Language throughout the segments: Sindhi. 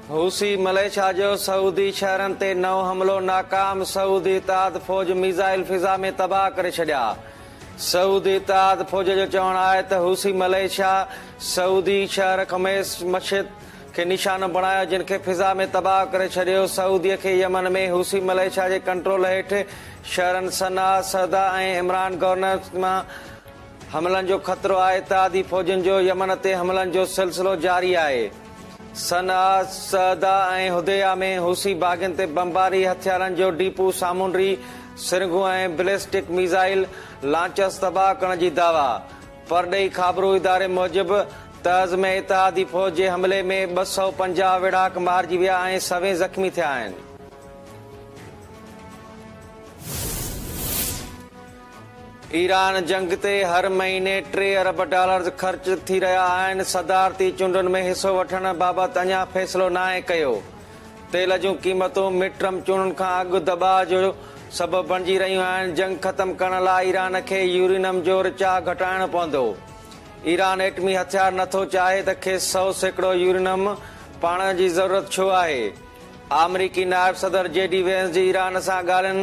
حوثي مليشيا جو سعودي شهرن تي نئون حملو ناڪام، سعودي اتحاد فوج ميزائل فضا ۾ تباهه ڪري ڇڏيا. سعودي اتحاد فوج جو چوڻ آهي ته حوثي مليشيا سعودي شهر خميس مشيط کي نشانو بڻايو جن کي فضا ۾ تباهه ڪري ڇڏيو. سعودي کي يمن ۾ حوثي مليشيا جي ڪنٽرول هيٺ شهرن صنعا، صعده ۽ عمران گورنرز مان حملن جو خطرو آهي. اتحادي فوجن جو يمن تي حملن جو سلسلو جاري آهي. صنعا، صعده ۽ حديده ۾ حوثي باغين تي بمباري، هٿيارن جو ڊيپو، سامونڊي سرنگهون ۽ بليسٽڪ ميزائل لانچرز تباهه ڪرڻ جي دعويٰ. پرڏيهي خابرو اداري موجب تعز ۾ اتحادي فوج جي حملي ۾ 250 ويڙهاڪ مارجي ويا ۽ سوين زخمي ٿيا آهن. ايران جنگ تي هر مهيني 3 ارب ڊالرز خرچ ٿي رهيا آهن، صدارتي چونڊن ۾ حصو وٺڻ بابت اڃا فيصلو ناهي ڪيو. تيل جون قيمتون مڊ ٽرم چونڊن کان اڳ دٻاء جو سبب بڻجي رهيون آهن، جنگ ختم ڪرڻ لاء ايران کي يورينم جو رچاء گهٽائڻو پوندو. ايران ايٽمي هٿيار نٿو چاهي ته کيس 100% يورينم پاڙڻ جي ضرورت ڇو آهي؟ آمريڪي نائب صدر جي ڊي وينس جي ايران سان ڳالهين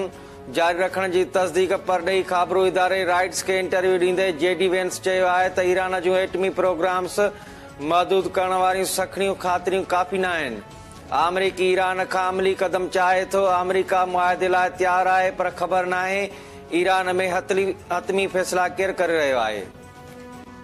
جاري رکڻ جي تصديق پرڏيهي خابرو اداري رائٽرز کي انٽرويو ڏيندي جي ڊي وينس چيو آهي ته ايران جون ايٽمي پروگرامز محدود ڪرڻ واريون سکڻيون خاطريون ڪافي ناهن آمريڪي ايران کان عملي قدم چاهي ٿو آمريڪا معاهدي لاء تيار آهي پر خبر ناهي ايران ۾ حتمي فيصلا ڪير ڪري رهيو آهي.